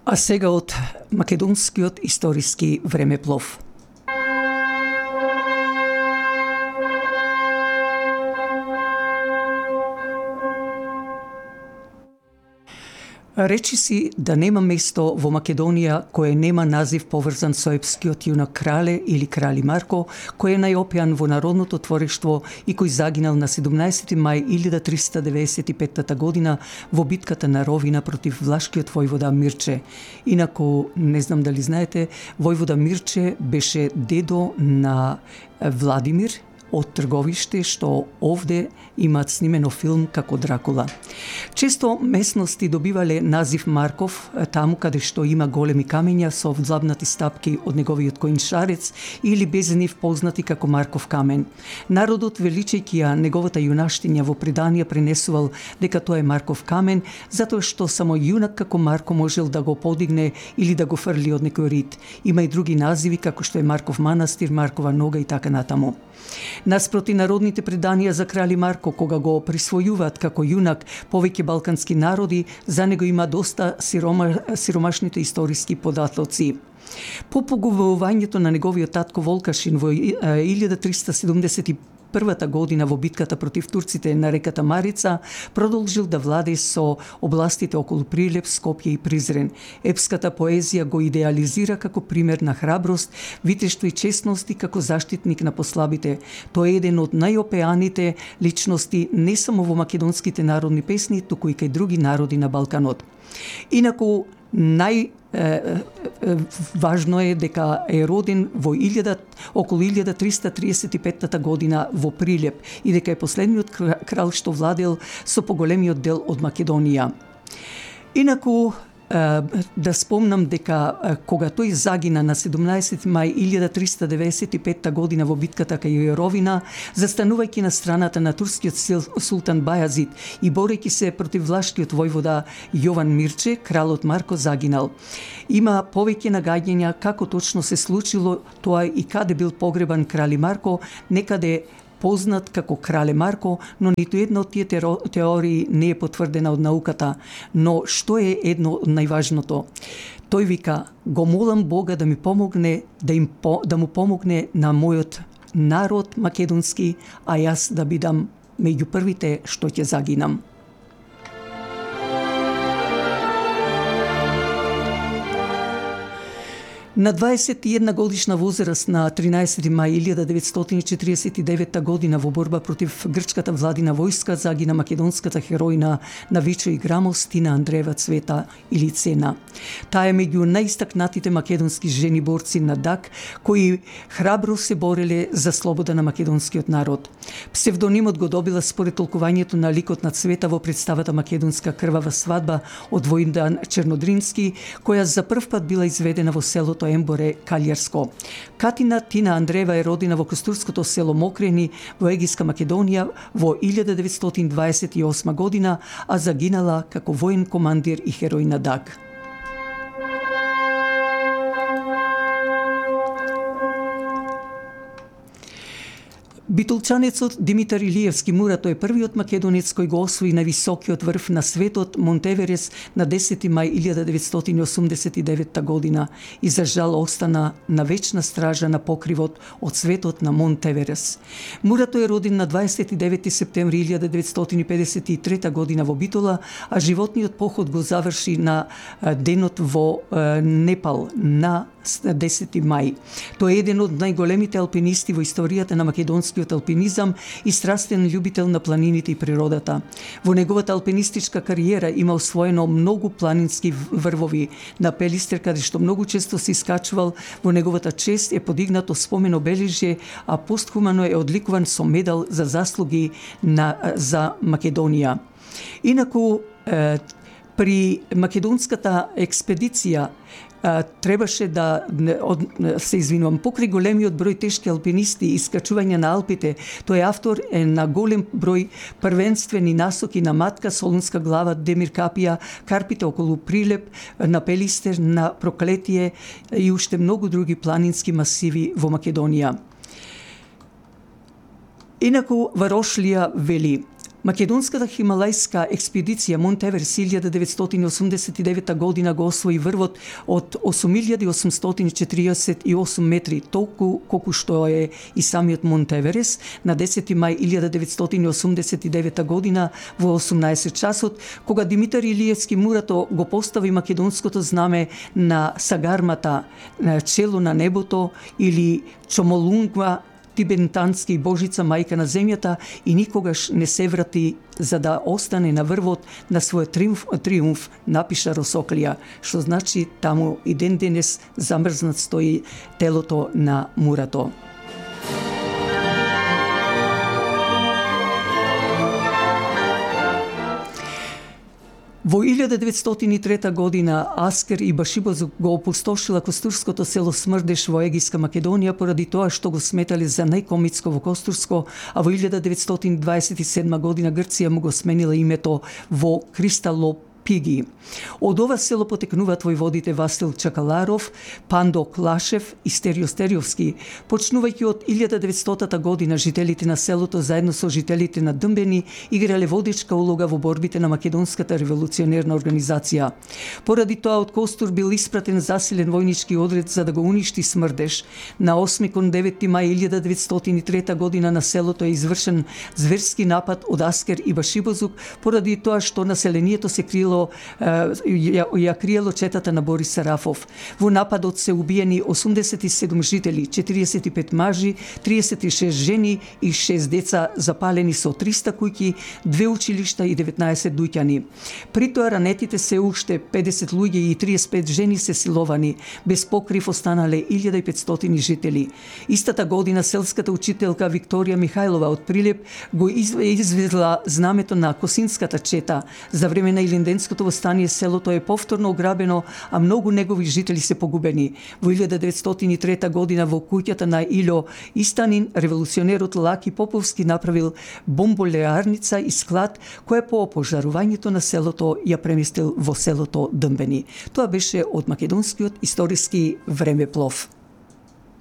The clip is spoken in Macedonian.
А сега од македонскиот историски времеплов. Речи си да нема место во Македонија кое нема назив поврзан со епскиот јунак Крале или Крали Марко, кој е најопјан во народното творештво и кој загинал на 17 мај 1395 година во битката на Ровина против влашкиот војвода Мирче. Инаку, не знам дали знаете, војвода Мирче беше дедо на Владимир од Трговиште, што овде имаат снимено филм како Дракула. Често местности добивале назив Марков, таму каде што има големи камења со взлабнати стапки од неговиот коиншарец или без нив познати како Марков камен. Народот, величајќи ја неговата јунаштиња во преданија, пренесувал дека тоа е Марков камен, затоа што само јунак како Марко можел да го подигне или да го фрли од некој рид. Има и други називи како што е Марков манастир, Маркова нога и така натаму. Наспроти народните преданија за Крали Марко, кога го присвојуваат како јунак повеќе балкански народи, за него има доста сиромашните историски податоци. По поговорењето на неговиот татко Волкашин во 1371 година во битката против турците на реката Марица, продолжил да владее со областите околу Прилеп, Скопје и Призрен. Епската поезија го идеализира како пример на храброст, витештво и честност и како заштитник на послабите. Тој е еден од најопеаните личности не само во македонските народни песни, туку и кај други народи на Балканот. Инаку, важно е дека е роден во околу 1335 година во Прилеп и дека е последниот крал што владел со поголемиот дел од Македонија. Инаку, да спомнам дека кога тој загина на 17 мај 1395 година во битката кај Ровина, застанувајќи на страната на турскиот султан Бајазид и борејќи се против влашкиот војвода Јован Мирче, кралот Марко загинал. Има повеќе нагаѓања како точно се случило тоа и каде бил погребан Крали Марко, некаде познат како Крале Марко, но ниту една од тие теории не е потврдена од науката. Но што е едно од најважното? Тој вика: го молам Бога да ми помогне, да му помогне на мојот народ македонски, а јас да бидам меѓу првите што ќе загинам. На 21 годишна возраст на 13 мај 1949 година во борба против грчката владина војска загина македонската хероина на Вичо и Грамос Тина Андреева Цвета или Цена. Таа е меѓу најистакнатите македонски жени борци на ДАК кои храбро се бореле за слобода на македонскиот народ. Псевдонимот го добила според толкувањето на ликот на Цвета во представата Македонска крвава свадба од Војндан Чернодрински, која за прв пат била изведена во селото Емборе, Калјарско. Катина Тина Андреева е родена во костурското село Мокрени во Егиска Македонија во 1928 година, а загинала како воен командир и херој на ДАК. Битолчанецот Димитар Илиевски Мурато е првиот македонец кој го освои највисокиот врв на светот Монтеверес на 10 мај 1989 година и за жал остана на вечна стража на покривот од светот на Монтеверес. Мурато е роден на 29 септември 1953 година во Битола, а животниот поход го заврши на денот во Непал на 10 мај. Тој е еден од најголемите алпинисти во историјата на македонскиот алпинизам и страстен љубител на планините и природата. Во неговата алпинистичка кариера има освоено многу планински врвови. На Пелистер, каде што многу често се искачувал, во неговата чест е подигнато спомен обележје, а постхумано е одликуван со медал за заслуги за Македонија. Инаку, при македонската експедиција требаше да се извинувам, покрај големиот број тешки алпинисти и искачување на Алпите, тој автор е на голем број првенствени насоки на Матка, Солунска глава, Демир Капија, Карпите околу Прилеп, на Пелистер, на Проклетие и уште многу други планински масиви во Македонија. Инаку Варошлија вели: Македонската хималајска експедиција Монт Еверест 1989 година го освои врвот од 8848 метри, толку колку што е и самиот Монт Еверест, на 10 мај 1989 година во 18 часот, кога Димитар Илиевски Мурато го постави македонското знаме на сагармата на чело на небото или Чомолунгва, тибетански божица мајка на земјата, и никогаш не се врати за да остане на врвот на својот триумф, напиша Росоклија, што значи таму и ден денес замрзнат стои телото на Мурато. Во 1903 година Аскер Ибашибозук го опустошила костурското село Смрдеш во Егијска Македонија поради тоа што го сметале за најкомитско во Костурско, а во 1927 година Грција му го сменила името во Кристалоп Пиги. Од ова село потекнуваат војводите Васил Чакаларов, Пандо Клашев и Стерио Стериовски. Почнувајќи од 1900 година, жителите на селото заедно со жителите на Дмбени играле водечка улога во борбите на Македонската револуционерна организација. Поради тоа од Костур бил испратен засилен војнички одред за да го уништи Смрдеш. На 8 кон 9 мај 1903 година на селото е извршен зверски напад од Аскер Ибашибозук поради тоа што населението се криело ја криело четата на Борис Сарафов. Во нападот се убиени 87 жители, 45 мажи, 36 жени и 6 деца, запалени со 300 куќи, 2 училишта и 19 дуќани. При тоа ранетите се уште 50 луѓе и 35 жени се силовани. Без покрив останале 1500 жители. Истата година селската учителка Викторија Михајлова од Прилеп го извезла знамето на Косинската чета. За време на Илинденското восстание селото е повторно ограбено, а многу негови жители се погубени. Во 1903 година во куќата на Илјо Истанин, револуционерот Лаки Поповски направил бомболеарница и склад, која по опожарувањето на селото ја преместил во селото Дмбени. Тоа беше од македонскиот историски времеплов.